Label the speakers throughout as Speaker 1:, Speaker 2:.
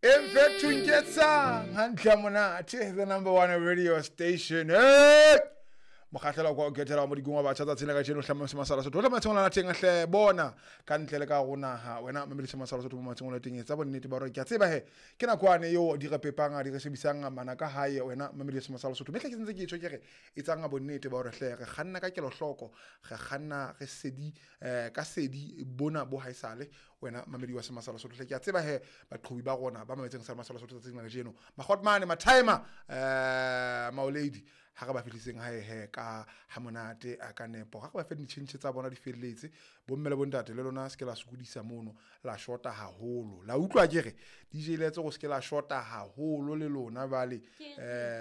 Speaker 1: Emfethunketsang hantle monate, the number one radio station. Hey! Mokgahlelo kwa o kethela wa modikong wa batjha tsatsing la kajeno hlama semasala sotho hle matsheng la teng hle bona ka ntle le ka go naha wena mamedise masala sotho mo matsheng la teng etsa bonnete ba hore ke a tseba he ke nakwane eo di re pepang di re shebisang mana ka hae wena mamedise masala sotho mehle ke sentse ke tjho ke re etsang bonnete ba hore hle re kganna ka kelohloko re kganna re sedi ka sedi bona bo haesale wena mamedi wa semasala sotho hle ke a tseba he baqhobi ba rona ba mametseng sa masala sotho tsatsing la kajeno magotmane mathimer maolady ha re ba fihliseng hae he ka ha monate a ka nepo ha re ba fe ditjhentjhe tsa bona di felletse bomme le bontate le lona se ke la sokodisa mono la shota haholo la utlwa ke re DJ letse go se ke la shota haholo le lona bale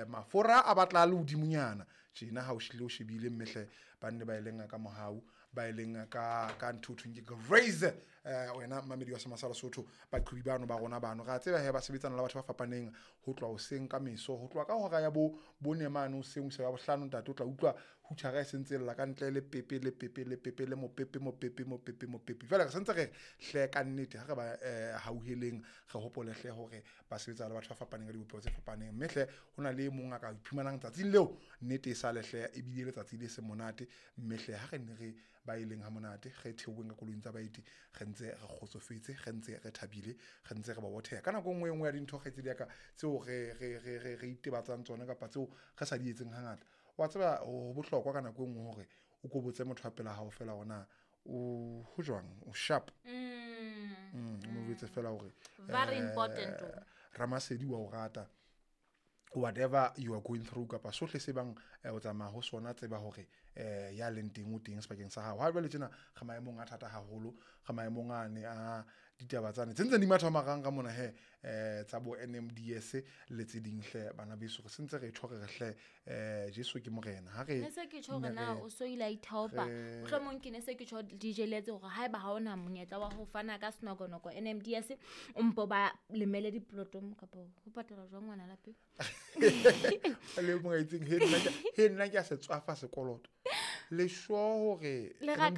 Speaker 1: mafora a batla le hodimonyana tjena ha o shile o shebile mmehle ba nne ba e leng ka mohau ba e leng ka ntho thweng ke grace wena mamedi wa semasala sotho baqhobi bano ba rona bano re a tseba he ba sebetsana le batho ba fapaneng ho tloha hoseng ka meso ho tloha ka hora ya bo bone mane hoseng ho isa ya bohlano ntate o tla utlwa hutshara e sentse lla ka ntle le pepe le pepe le pepe le mopepe mopepe mopepe mopepe jwale re sentse re hle ka nnete ha re ba hauheleng re hopole hle hore ba sebetsa le batho ba fapaneng ka dibopeho tse fapaneng mme hle ho na le e mong a ka iphumanang tsatsing leo nnete e sale hle ebile letsatsi le se monate mme hle ha re ne re ba e leng ha monate re theoheng ka koloing tsa baeti re ntse re kgotsofetse re ntse re thabile re ntse re ba botheha ka nako nngwe e nngwe ya dintho kgaitsedi ya ka tseo re itebatsang tsona kapa tseo re sa di etseng hangata wa tseba ho bohlokwa ka nako e nngwe hore o ko botse motho wa pela hao fela hore na o ho jwang o sharp o mo jwetse fela hore
Speaker 2: very important
Speaker 1: Ramasedi wa o rata whatever you are going through kapa sohle se bang o tsamaya ho sona tseba hore ya leng teng o teng sebakeng sa hao ha jwale tjena re maemong a thata haholo re maemong ane a ditaba tsane tse ntseng di matha marang ka mona he tsa bo NMDS le tse ding hle bana beso re sentse re tjho re hle Jesu ke morena ha re
Speaker 2: ne se ke tjho hore na o so ile a ithaopa mohlomong ke ne se ke tjho DJ Letse hore haeba ha ona monyetla wa ho fana ka senokonoko NMDS o mpo ba lemele diplotong kapa ho patala jwang ngwana lapeng
Speaker 1: le mong a itseng he nna ke a se tswafa sekoloto le sure hore
Speaker 2: Le raka